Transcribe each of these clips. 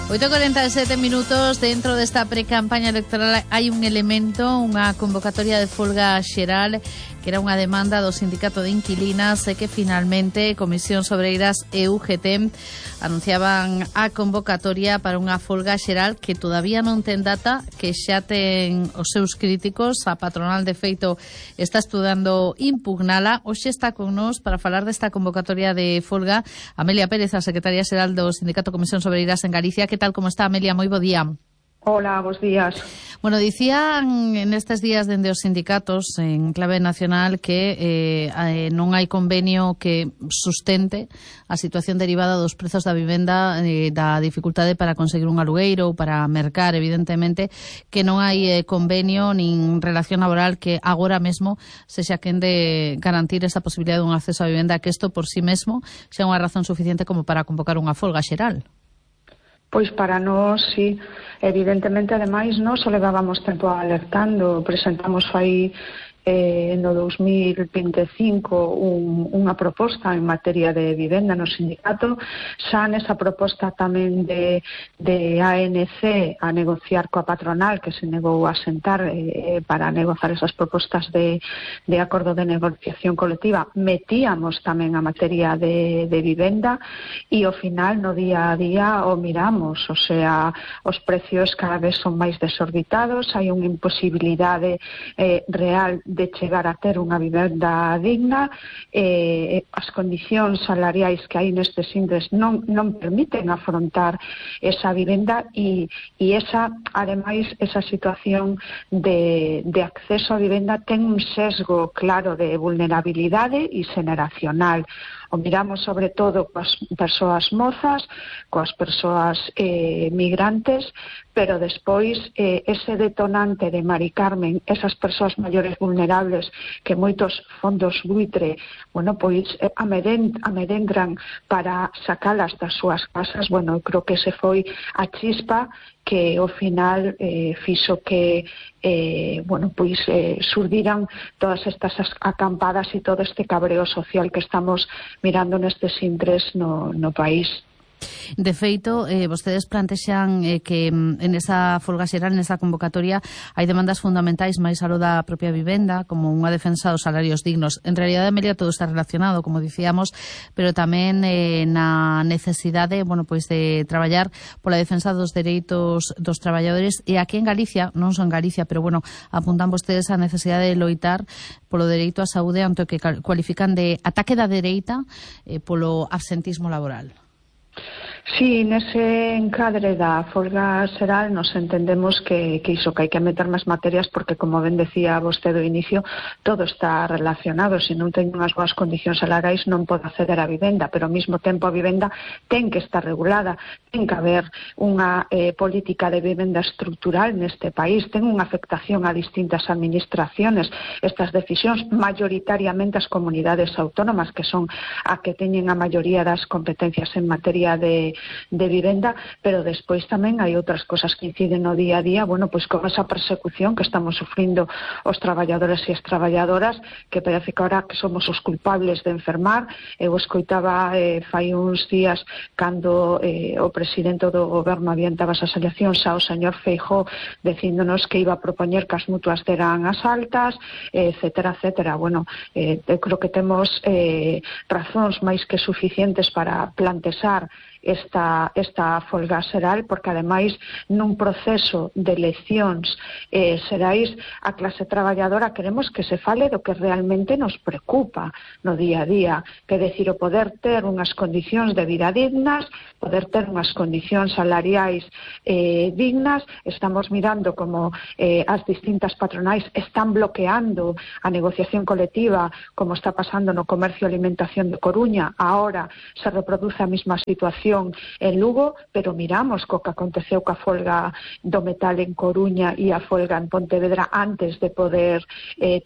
8:47 minutos. Dentro desta pre-campaña electoral hai un elemento, unha convocatoria de folga xeral que era unha demanda do Sindicato de Inquilinas e que finalmente Comisións Obreiras e UGT anunciaban a convocatoria para unha folga xeral que todavía non ten data, que xa ten os seus críticos. A patronal, de feito, está estudando impugnala. Hoxe está con nós para falar desta convocatoria de folga Amelia Pérez, a secretaria xeral do Sindicato Comisións Obreiras en Galicia. Que tal, como está, Amelia? Moi bo día. Hola, bos días. Bueno, dicían en estes días dende os sindicatos en clave nacional que non hai convenio que sustente a situación derivada dos prezos da vivenda, da dificultade para conseguir un alugueiro ou para mercar, evidentemente, que non hai convenio nin relación laboral que agora mesmo sexa quen de garantir esa posibilidade dun acceso á vivenda, que isto por sí mesmo xa unha razón suficiente como para convocar unha folga xeral. Pois para nós, sí, evidentemente, ademais, nós o levábamos tempo alertando, presentamos fai no 2025 unha proposta en materia de vivenda no sindicato. Xa nesa proposta tamén de ANC a negociar coa patronal, que se negou a sentar para negociar esas propostas de acordo de negociación colectiva, metíamos tamén a materia de vivenda e ao final no día a día o miramos, o sea, os precios cada vez son máis desorbitados, hai unha imposibilidade real de chegar a ter unha vivenda digna, as condicións salariais que hai nestes intres non permiten afrontar esa vivenda e esa, ademais, esa situación de acceso a vivenda ten un sesgo claro de vulnerabilidade e xeneracional. O miramos sobre todo coas persoas mozas, coas persoas migrantes, pero despois ese detonante de Mari Carmen, esas persoas maiores vulnerables que moitos fondos buitre, bueno, pois amedentran para sacalas das súas casas. Bueno, creo que ese foi a chispa que ao final fixo que surdiran todas estas acampadas e todo este cabreo social que estamos mirando nestes intres no país. De feito, vostedes plantexan que en esa folga xeral, nesa convocatoria, hai demandas fundamentais máis aló da propia vivenda, como unha defensa dos salarios dignos. En realidade, Amelia, todo está relacionado, como dicíamos, pero tamén na necesidade, de traballar pola defensa dos dereitos dos traballadores. E aquí en Galicia, non son Galicia, pero apuntan vostedes a necesidade de loitar polo dereito á saúde ante o que cualifican de ataque da dereita polo absentismo laboral. Sí, nese encadre da folga xeral nos entendemos que iso, que hai que meter máis materias porque, como ben decía vostede ao inicio, todo está relacionado. Se non ten unhas boas condicións salariais non pode acceder á vivenda, pero ao mesmo tempo a vivenda ten que estar regulada, ten que haber unha política de vivenda estructural neste país, ten unha afectación a distintas administraciones. Estas decisións, maioritariamente as comunidades autónomas, que son a que teñen a maioría das competencias en materia de vivenda, pero despois tamén hai outras cosas que inciden no día a día, con esa persecución que estamos sufrindo os traballadores e as traballadoras, que parece que ahora que somos os culpables de enfermar. Eu escoitaba fai uns días cando o presidente do goberno adiantaba esas eleccións ao señor Feijóo dicíndonos que iba a propoñer que as mutuas deran as altas, etcétera, etcétera. Eu creo que temos razóns máis que suficientes para plantexar esta folga xeral, porque ademais nun proceso de eleccións xerais a clase traballadora queremos que se fale do que realmente nos preocupa no día a día, que é dicir, o poder ter unhas condicións de vida dignas, poder ter unhas condicións salariais dignas. Estamos mirando como as distintas patronais están bloqueando a negociación colectiva, como está pasando no comercio e alimentación de Coruña. Ahora se reproduce a mesma situación en Lugo, pero miramos co que aconteceu coa folga do metal en Coruña e a folga en Pontevedra antes de poder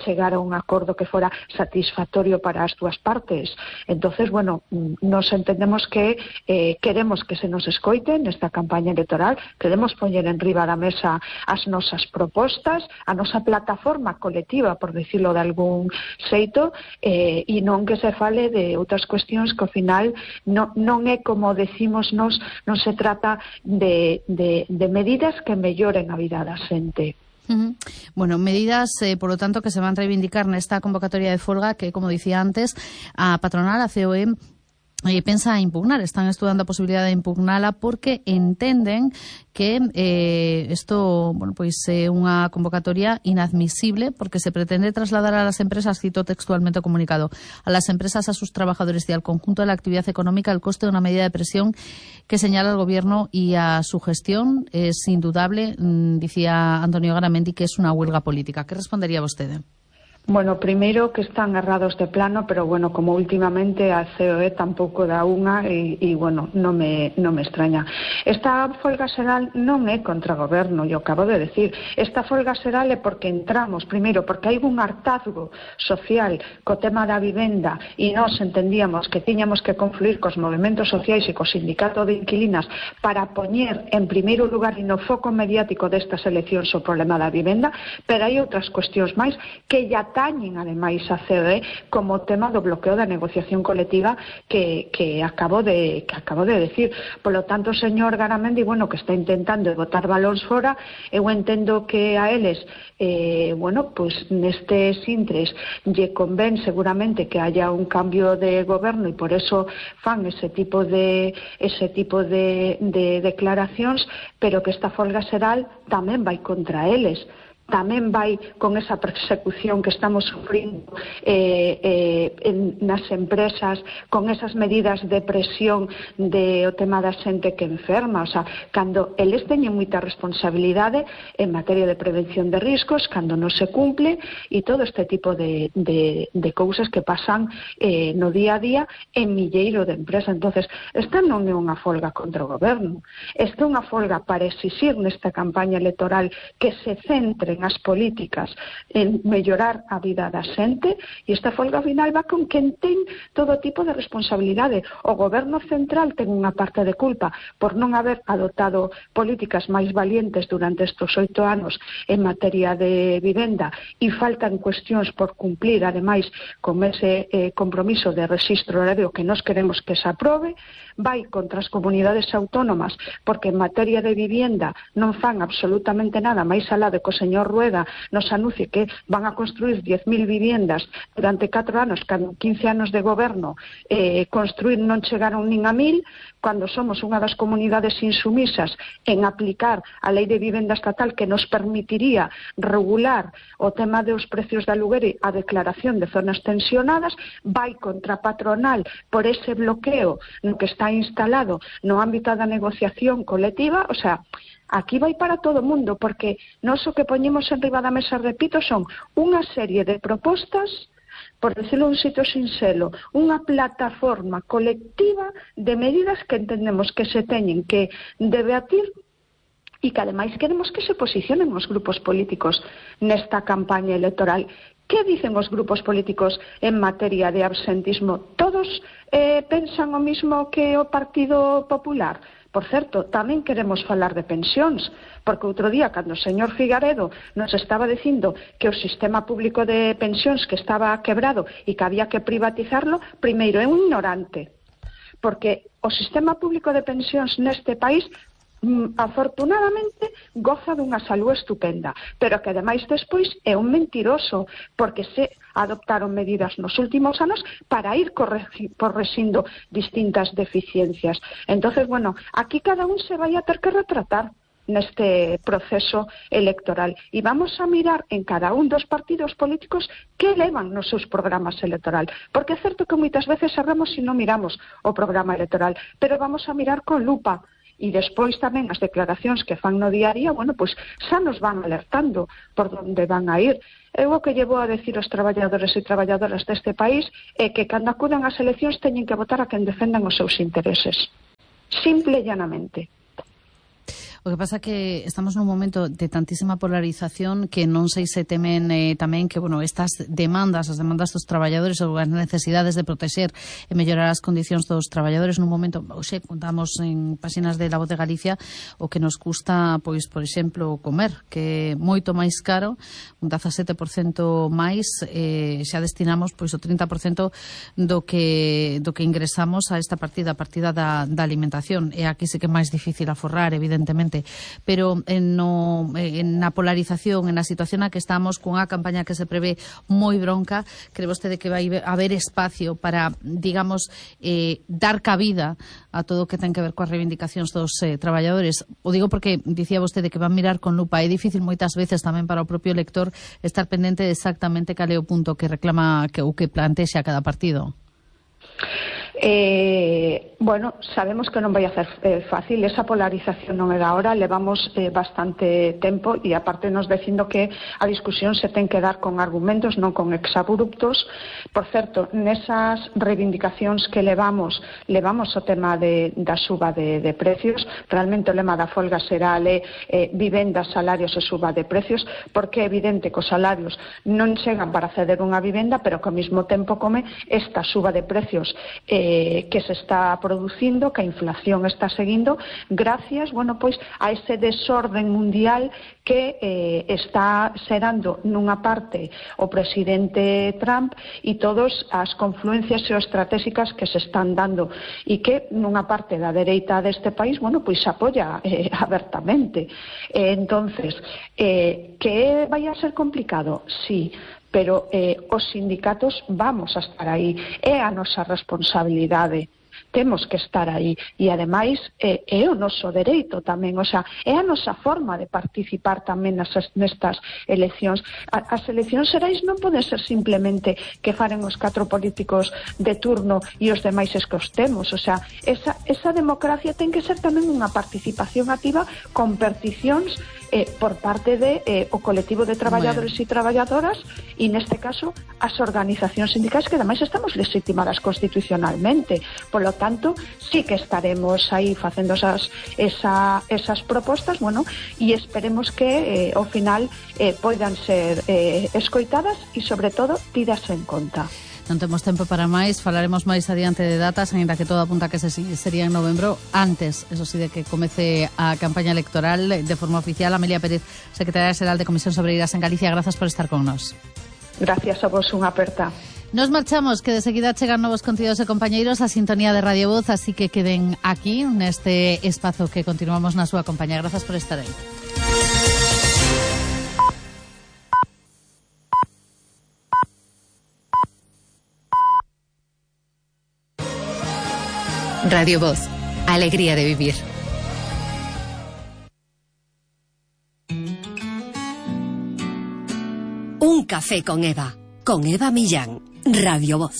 chegar a un acordo que fora satisfactorio para as dúas partes. Entonces, nos entendemos que queremos que se nos escoite nesta campaña electoral, queremos poñer en riba da mesa as nosas propostas, a nosa plataforma colectiva, por dicilo de algún xeito, e non que se fale de outras cuestións que ao final non é como decir dicimos nos, non se trata de medidas que melloren a vida da xente. Bueno, medidas, por lo tanto, que se van a reivindicar nesta convocatoria de folga que, como dicía antes, a patronal, a COE, pensa impugnar, están estudando a posibilidade de impugnala porque entenden que isto, bueno, pois é unha convocatoria inadmisible porque se pretende trasladar a las empresas, cito textualmente o comunicado, a las empresas, a sus trabajadores y al conjunto de la actividad económica el coste de una medida de presión que señala el gobierno y a su gestión. Es indudable, dicía Antonio Garamendi, que es una huelga política. ¿Qué respondería vostede? Bueno, primeiro que están errados de plano, pero bueno, como últimamente a COE tampouco dá unha e bueno, non me extraña. Esta folga xeral non é contra o goberno, eu acabo de decir. Esta folga xeral é porque entramos, primeiro, porque hai un hartazgo social co tema da vivenda e nós entendíamos que tiñamos que confluir cos movimentos sociais e co sindicato de inquilinas para poñer en primeiro lugar e no foco mediático destas eleccións o problema da vivenda, pero hai outras cuestións máis que ya tañen ademais a COE como tema do bloqueo da negociación colectiva que acabo de decir. Por lo tanto, señor Garamendi, bueno, que está intentando botar balóns fora, eu entendo que a eles bueno, pues nestes intres lle convén seguramente que haya un cambio de goberno e por eso fan ese tipo de declaracións, pero que esta folga xeral tamén vai contra eles. Tamén vai con esa persecución que estamos sufrindo nas empresas, con esas medidas de presión o tema da xente que enferma. O sea, cando eles teñen moita responsabilidade en materia de prevención de riscos, cando non se cumple e todo este tipo de cousas que pasan no día a día en milleiro de empresas. Entonces, esta non é unha folga contra o goberno, esta é unha folga para exixir nesta campaña electoral que se centre as políticas en mellorar a vida da xente e esta folga final va con quen ten todo tipo de responsabilidade. O goberno central ten unha parte de culpa por non haber adoptado políticas máis valientes durante estes 8 anos en materia de vivenda e faltan cuestións por cumplir ademais con ese compromiso de rexistro horario que nós queremos que se aprobe. Vai contra as comunidades autónomas porque en materia de vivienda non fan absolutamente nada máis alá de que o señor Rueda nos anuncie que van a construir 10.000 viviendas durante 4 anos, cando 15 anos de goberno construir non chegaron nin a 1.000, cando somos unha das comunidades insumisas en aplicar a lei de vivenda estatal que nos permitiría regular o tema dos precios de aluguer e a declaración de zonas tensionadas. Vai contra a patronal por ese bloqueo no que está instalado no ámbito da negociación colectiva. O sea, aquí vai para todo o mundo, porque nós o que poñemos en riba da mesa, repito, son unha serie de propostas, por decirlo un sitio sinxelo, unha plataforma colectiva de medidas que entendemos que se teñen que debatir e que ademais queremos que se posicionen os grupos políticos nesta campaña electoral. Que dicen os grupos políticos en materia de absentismo? Todos pensan o mismo que o Partido Popular? Por certo, tamén queremos falar de pensións, porque outro día, cando o señor Figaredo nos estaba dicindo que o sistema público de pensións que estaba quebrado e que había que privatizarlo, primeiro é un ignorante, porque o sistema público de pensións neste país afortunadamente goza dunha salud estupenda, pero que ademais despois é un mentiroso, porque se adoptaron medidas nos últimos anos para ir correxindo distintas deficiencias. Entonces, bueno, aquí cada un se vai a ter que retratar neste proceso electoral e vamos a mirar en cada un dos partidos políticos que levan nos seus programas electoral, porque é certo que moitas veces erramos se non miramos o programa electoral, pero vamos a mirar con lupa. E despois tamén as declaracións que fan no día a día, bueno, pois xa nos van alertando por onde van a ir. Eu o que llevo a decir aos traballadores e traballadoras deste país é que cando acudan ás eleccións teñen que votar a quen defendan os seus intereses. Simple e llanamente. O que pasa que estamos nun momento de tantísima polarización que non sei se temen tamén que, bueno, estas demandas, as demandas dos traballadores ou as necesidades de protexer e mellorar as condicións dos traballadores nun momento, xe, contamos en páxinas de La Voz de Galicia o que nos custa, pois, por exemplo, comer, que é moito máis caro, un 17% máis, xa destinamos pois o 30% do que ingresamos a esta partida, a partida da alimentación. E aquí sí que é máis difícil aforrar, evidentemente, pero na polarización, en a situación na que estamos, cunha campaña que se prevé moi bronca, cree vostede que vai haber espacio para, digamos, dar cabida a todo o que ten que ver coas reivindicacións dos traballadores? O digo porque dicía vostede que van mirar con lupa. É difícil moitas veces tamén para o propio lector estar pendente de exactamente cal é o punto que reclama ou que plantexa cada partido. Bueno, sabemos que non vai a ser fácil, esa polarización non é da hora, levamos bastante tempo e aparte nos dicindo que a discusión se ten que dar con argumentos, non con exabruptos. Por certo, nesas reivindicacións que levamos o tema da suba de precios. Realmente o lema da folga será vivenda, salarios e suba de precios, porque é evidente que os salarios non chegan para ceder unha vivenda, pero que ao mesmo tempo come esta suba de precios que se está producindo, que a inflación está seguindo gracias, bueno, pois a ese desorden mundial que está xerando nunha parte o presidente Trump e todas as confluencias geoestratégicas que se están dando e que nunha parte da dereita deste país, bueno, pois apoia abertamente. Entonces, que vai a ser complicado? Sí, pero os sindicatos vamos a estar aí, é a nosa responsabilidade, temos que estar aí e ademais é o noso dereito tamén, o sea, é a nosa forma de participar tamén nestas eleccións. As eleccións xerais non poden ser simplemente que faren os 4 políticos de turno e os demais escostemos, o sea, esa democracia ten que ser tamén unha participación activa con peticións por parte o colectivo de traballadores e traballadoras e neste caso as organizacións sindicais que ademais estamos legitimadas constitucionalmente. Por lo tanto, sí que estaremos aí facendo esas propostas, bueno, e esperemos que ao final poidan ser escoitadas e sobre todo tidas en conta. Non temos tempo para máis, falaremos máis adiante de datas, ainda que todo apunta que sería en novembro, antes, eso sí, de que comece a campaña electoral de forma oficial. Amelia Pérez, secretaria xeral de Comisión Obreiras en Galicia, grazas por estar con nós. Gracias a vos, unha aperta. Nos marchamos, que de seguida chegan novos contidos e compañeiros a sintonía de Radio Voz, así que queden aquí, neste espazo que continuamos na súa compañía. Grazas por estar aí. Radio Voz, alegría de vivir. Un café con Eva Millán, Radio Voz.